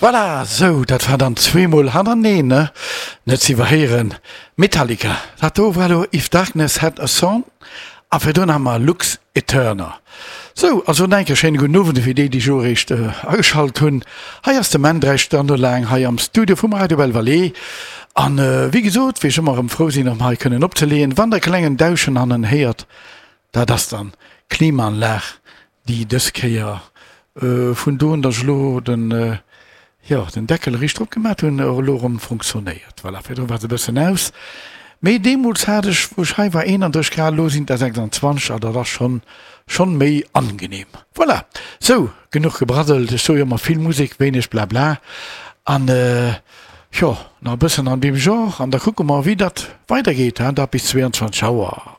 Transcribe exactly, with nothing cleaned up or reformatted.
Voilà, sou, dat war dann zweemol hannerteneen, ne? Net ze iwwerhéieren. Metallica, dat do war elo If Darkness Had A Son a virdrun hu mer Lux Eterna. Sou, also nach eng Kéier schéine gudden Owend fir déi, déi elo eréischt ageschalt hunn. Hei ass de Menn dräi Stonne laang hei am Studio vum Radio Belle Vallée. An wéi gesot, wéi ech ëmmer erëm frou sinn, erëm hei kënnen opzeleeën, wann der e klengen Dauschen hannen héiert, dat ass dann d'Klimaanlag, déi dës Kéier vun do un, datt ech elo den, jo, den Deckel riicht drop gemat hunn, och elo erëm funktionéiert. Voilà, virdru war se e bëssen aus. Mee deemools hat ech, wou ech hei war, eenandrësseg Grad, elo sinn et der sechsandzwanzeg a dat ass schonn, schonn méi angenehm. Voilà, sou, genuch gebraddelt. Ech soe jo ëmmer, vill Musek, wéineg Blabla. An, jo, nach e bëssen an deem Genre an da kucke mer, wéi dat weidergeet, dat bis zwéianzwanzeg Auer.